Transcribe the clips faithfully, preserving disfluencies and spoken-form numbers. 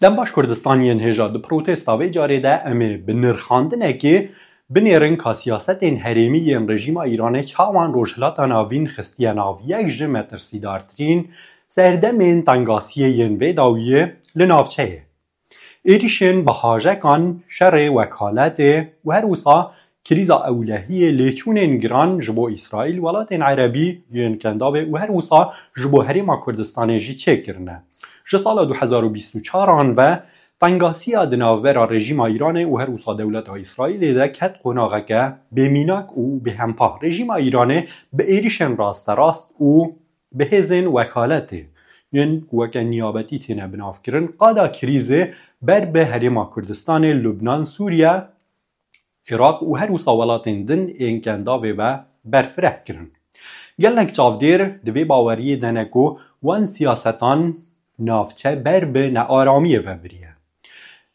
Dem baş Kurdistan yên hêja, di protesta vê carê de em ê bi nirxandinekê binêrin ka siyasetên herêmî yên rejîma Îranê çawan Rojhilata Navîn xistiye nav yek ji metirsîdartirîn serdemên tengasiyê yên vê dawiyê li navçeyê. Êrîşên bi hajekan, şerê wekaletê û her wisa krîza ewlehiyê lêçûnên giran ji bo Îsraîl, welatên erebî yên kendavê û her wisa ji bo Herêma Kurdistanê jî çêkirine. Ji sala du hezar û bîst û çaran ve tengasiya di navbera rejîma Îranê û her wisa dewleta Îsraîlê de ket qonaxeke bêmînak û bêhempa. Rejîma Îranê bi êrîşên rasterast û bi hêzên wekaletê yên ku weke niyabetî têne binavkirin, qada krîzê ber bi Herêma Kurdistanê, Lubnan, Sûriye, Iraq û her wisa welatên din ên kendavê ve berfireh kirin. Gelek çavdêr di vê baweriyê de ne ku wan siyasetan navçe ber bi nearamiyê ve biriye.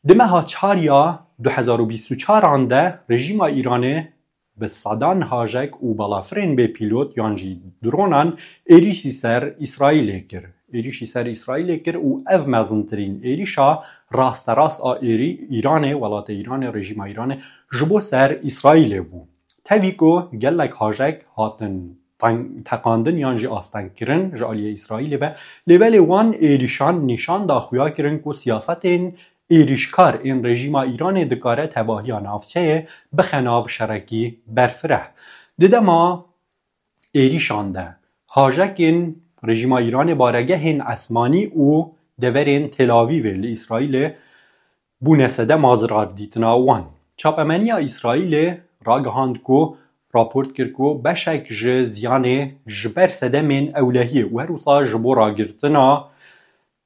Di meha çar ya du hezar û bîst û çaran de rejîma Îranê bi sedan hajek û balafirên bê pîlot yan jî dronan êrîşî ser Îsraîlê kir. Êrîşî ser Îsraîlê kir û ev mezintirîn êrîşa rasterast a êrî Îranê, welatê Îranê, rejîma Îranê ji bo ser Îsraîlê bû. Tevî ku gelek hajek hatin teng-, teqandin yan jî astengkirin ji aliyê Îsraîlê ve, lê belê wan êrîşan nîşan da xuya kirin ku siyasetên êrîşkar ên rejîma Îranê dikare tevahiya navçeyê bixe nav şerekî berfireh. Di dema êrîşan de hajekên rejîma Îranê baregehên esmanî û deverên Tel Avîvê li Îsraîlê bûne sedema zirardîtina wan. Çapemeniya Îsraîlê ragihand ku raport kir ku beşek ji ziyanê ji ber sedemên ewlehiyê û her wisa ji bo ragirtina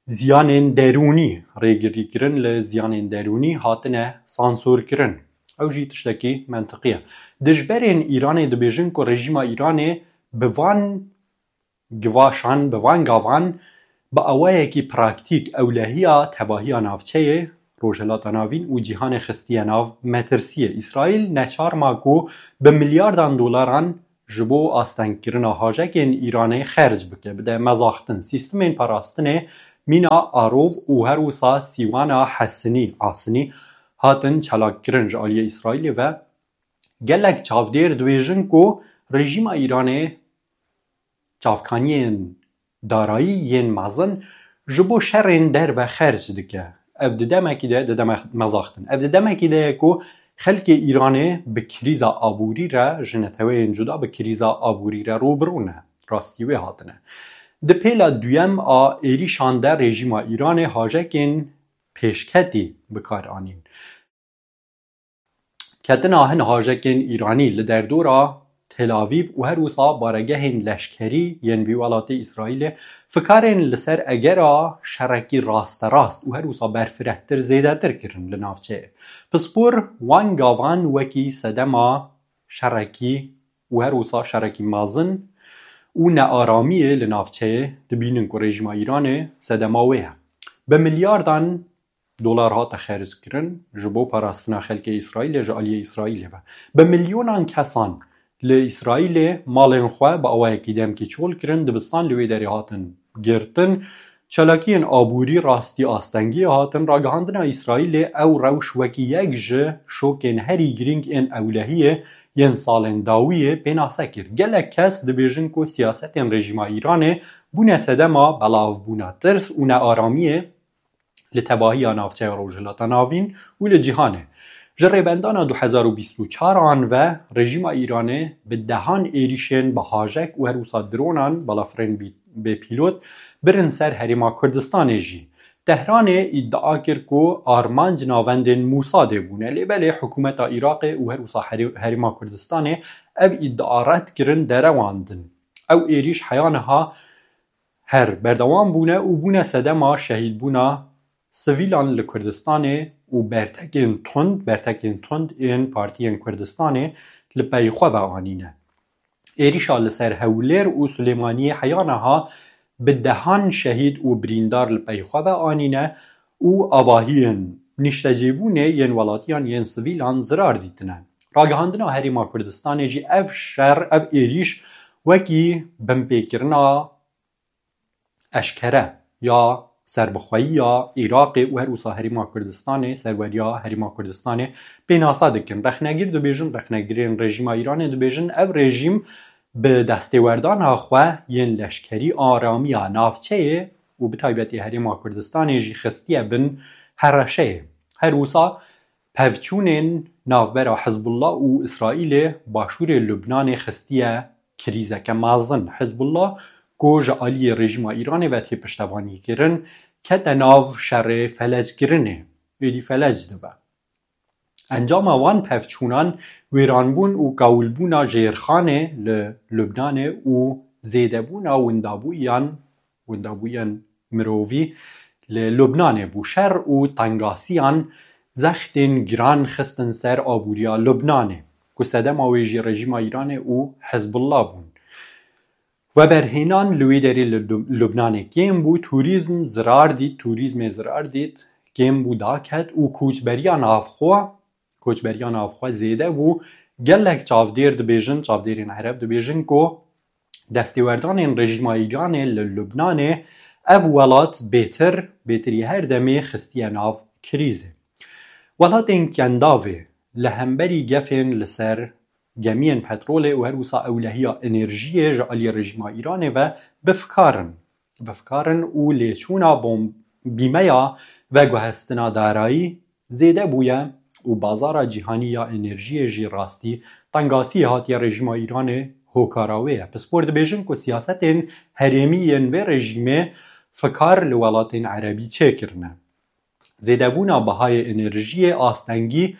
ziyanên derûnî, rêgirîkirin li ziyanên derûnî hatine sansorkirin. Ew jî tiştekî mentiqî ye. Dijberên Îranê dibêjin ku rejîma Îranê bi van givaşan, bi van gavan, bi awayekî praktîk ewlehiya tevahiya navçeyê, Rojhilata Navîn û cîhanê xistiye nav metirsiyê. Îsraîl neçar ma ku bi milyardan dolaran ji bo astengkirina hajekên Îranê xerc bike, bide mezaxtin. Sîstemên parastinê mîna Arov û her wisa sîwana Hesinî, Asinî, hatin çalakkirin ji aliyê Îsraîlê ve. Gelek çavdêr dibêjin ku rejîma Îranê çavkaniyên darayî yên mezin ji bo şerên derve xerc dike. Ev di demekî de, di deme-, mezaxtin. Ev di demekî de ye ku xelkê Îranê bi krîza aborî re, ji neteweyên cuda bi krîza aborî re rû bi rû ne. Rastî wê hatine. Di pêla duyem a êrîşan de rejîma Îranê hajekên pêşketî bi kar anîn. Ketina hin hajekên Îranî li derdora Tel Avîv û her wisa baregehên leşkerî yên vî welatê Îsraîlê fikarên li ser egera şerekî rasterast û her wisa berfirehtir zêdetir kirin li navçeyê. Pispor wan gavan wekî sedema şerekî û her wisa şerekî mezin û nearamiyê li navçeyê dibînin ku rejîma Îranê sedema wê ye. Bi milyardan dolar hate xerckirin ji bo parastina xelkê Îsraîlê ji aliyê Îsraîlê ve. Bi milyonan kesan li Îsraîlê malên xwe bi awayekî demkî çol kirin, dibistan li wê derê hatin girtin. Çalakiyên aborî rastî astengiyê hatin. Ragihandina Îsraîlê ew rewş wekî yek ji şokên herî girîng ên ewlehiyê yên salên dawiyê pênase kir. Gelek kes dibêjin ku siyasetên rejîma Îranê bûne sedema belavbûna tirs û nearamiyê li tevahiya navçeya Rojhilata Navîn û li cîhanê. Ji rêbendana du hezar û bîst û çar an ve rejîma Îranê bi dehan êrîşên bi hajek û her wisa dronan, balafirên bî-, bêpîlot, birin ser Herêma Kurdistanê jî. Tehranê îdia kir ku armanc navendên Mûsadê bûne, lê belê hikûmeta Iraqê û her wisa Herê-, Herêma Kurdistanê ev îdia red kirin, derewandin. Ew êrîş heya niha her berdewam bûne û bûne sedema şehîdbûna sivîlan li Kurdistanê û bertekên tund, bertekên tund ên partiyên Kurdistanê li pey xwe ve anîne. Êrîşa li ser Hewlêr û Silêmaniyê heya niha bi dehan şehîd û birîndar li pey xwe ve anîne û avahiyên nîştecîbûnê yên welatiyan yên sivîlan zirar dîtine. Ragihandina Herêma Kurdistanê jî ev şer, ev êrîş wekî binpêkirina eşkere ya serbixweyiya Iraqê û her wisa Herêma Kurdistanê, serweriya Herêma Kurdistanê pênase dikin. Rexnegir dibêjin, rexnegirên rejîma Îranê dibêjin, ev rejîm bi destêwerdana xwe yên leşkerî aramiya navçeyê û bi taybetî Herêma Kurdistanê jî xistiye bin hereşeyê. Her wisa pevçûnên navbera Hizbullah û Îsraîlê başûrê Lubnanê xistiye krîzeke mezin. Hizbullah ku ji aliyê rejîma Îranê ve tê piştevanîkirin, kete nav şerê feleckirinê, êdî felec dibe. Encama van pevçûnan wêranbûn û kawilbûna jêrxanê li Lubnanê û zêdebûna windabûyan, windabûyan mirovî li Lubnanê bû. Şer û tengasiyan zextên giran xistin ser aboriya Lubnanê, ku sedema wê jî rejîma Îranê û Hizbullah bûn. Weberhênan li wê derê li Lub-, Lubnanê kêm bû, turîzm zirar dît, turîzmê zirar dît, kêm bû, daket û koçberiya navxwe, koçberiya navxwe zêde bû. Gelek çavdêr dibêjin, çavdêrên Ereb dibêjin ku destêwerdanên rejîma Îranê li Lubnanê ev welat bêtir, bêtirî her demê xistiye nav krîzê. Welatên Kendavê li hemberî gefên li ser gemiyên petrolê û her wisa ewlehiya enerjiyê ji aliyê rejîma Îranê ve bi fikar in. Bi fikar in û lêçûna bom-, bîmeya veguhestina darayî zêde bûye û bazara cîhanî ya enerjiyê jî rastî tengasiyê hatiye rejîma Îranê hokara wê ye. Pispor dibêjin ku siyasetên herêmî yên vê rejîmê fikar li welatên erebî çêkirine. Zêdebûna bihayê enerjiyê, astengî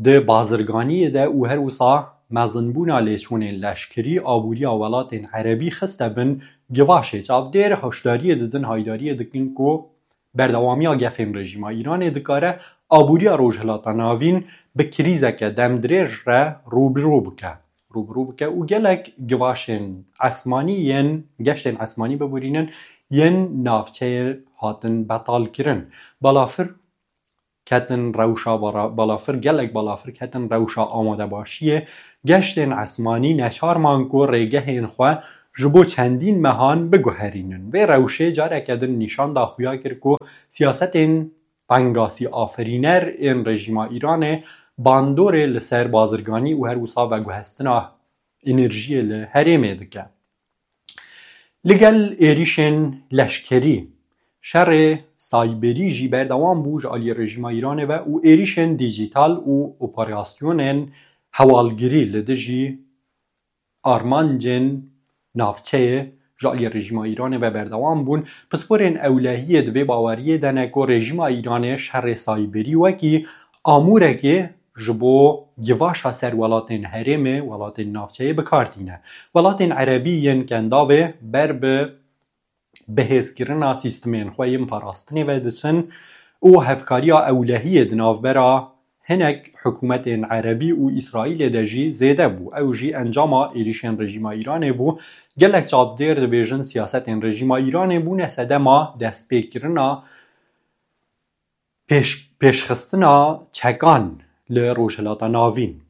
di bazirganiyê de û her wisa mezinbûna lêçûnên leşkerî aboriya welatên erebî xiste bin givaşê. Çavdêr hişdariyê didin, haydariyê dikin ku berdewamiya gefên rejîma Îranê dikare aboriya Rojhilata Navîn bi krîzeke demdirêj re rû bi rû bike. Rû bi rû bike û gelek givaşên esmanî yên geştên esmanî biborînin yên navçeyê hatin betalkirin. Balafir ketin rewşa bara-, balafir, gelek balafir ketin rewşa amadebaşiyê. Geştên esmanî neçar man ku rêgehên xwe ji bo çendîn mehan biguherînin. Vê rewşê careke din nîşan da xuya kir ku siyasetên tengasî aferîner ên rejîma Îranê bandorê li ser bazirganî û her wisa veguhestina enerjiyê li herêmê dike. Li gel êrîşên leşkerî, şerê sayberî jî berdewam bû ji aliyê rejîma Îranê ve û êrîşên dîjîtal û operasyonên hewalgirî li dijî armancên navçeyê ji aliyê rejîma Îranê ve berdewam bûn. Pisporên ewlehiyê di vê baweriyê de ne ku rejîma Îranê şerê sayberî wekî amûrekê ji bo givaşa ser welatên herêmê, welatên navçeyê bi kar tîne. Welatên erebî yên Kendavê ber bi bihêzkirina sîstemên xwe yên parastinê ve diçin û hevkariya ewlehiyê di navbera hinek hikûmetên erebî û Îsraîlê de jî zêde bû. Ew jî encama êrîşên rejîma Îranê bû. Gelek çavdêr dibêjin siyasetên rejîma Îranê bûne sedema destpêkirina pêş-, pêşxistina çekan li Rojhilata Navîn.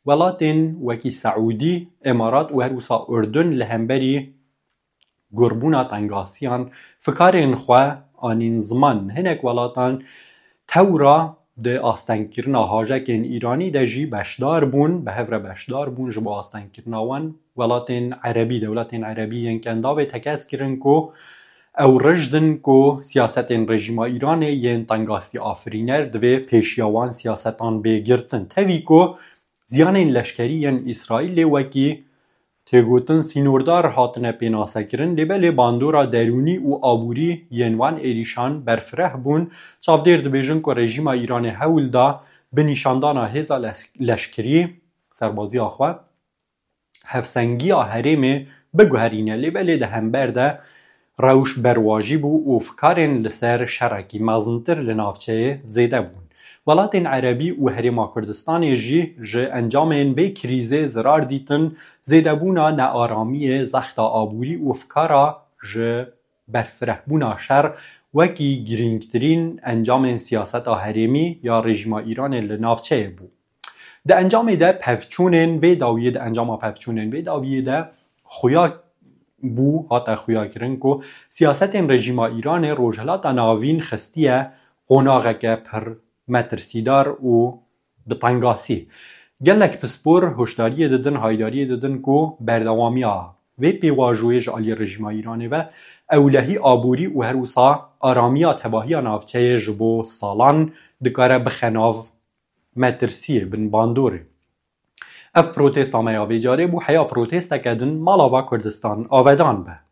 Welatên wekî Seûdî, Îmarat û her wisa Urdun li hemberî gurbûna tengasiyan fikarên xwe anîn ziman. Hinek welatan tewra di astengkirina hajekên Îranî de jî beşdar bûn, bi hev re beşdar bûn ji bo astengkirina wan. Welatên erebî, dewletên erebî yên Kendavê tekez kirin ku ew rijd in ku siyasetên rejîma Îranê yên tengasî afirîner divê pêşiya wan siyasetan bê girtin. Tevî ku ziyanên leşkerî yên Îsraîlê wekî têgotin sînordar hatine pênasekirin, lê belê bandora derûnî û aborî yên wan êrîşan berfireh bûn. Çavdêr dibêjin ku rejîma Îranê hewl da bi nîşandana hêza les-, leşkerî, serbaziya xwe, hevsengiya herêmê biguherîne, lê belê di hember de rewş berwajî bû û fikarên li ser şerekî mezintir li navçeyê zêde bûn. Welatên erebî û Herêma Kurdistanê jî ji encamên vê krîzê zirar dîtin, zêdebûna nearamiyê, zexta aborî û fikara ji berfirehbûna şer wekî girîngtirîn encamên siyaseta herêmî ya rejîma Îranê li navçeyê bû. Di encamê de pevçûnên vê dawiyê, di encama pevçûnên vê dawiyê de xuya bû, hate xuyakirin ku siyasetên rejîma Îranê Rojhilata Navîn xistiye qonaxeke pir metirsîdar û bi tengasî. Gelek pispor hoşdariyê didin, haydariyê didin ku berdewamiya vê pêvajoyê ji aliyê rejîma Îranê ve ewlehî aborî û her wisa aramiya tevahiya navçeyê ji bo salan dikare bixe nav metirsiyê, bin bandorê. Ev protesta me ya vê carê bû heya protesteke din mala va Kurdistan avedan be.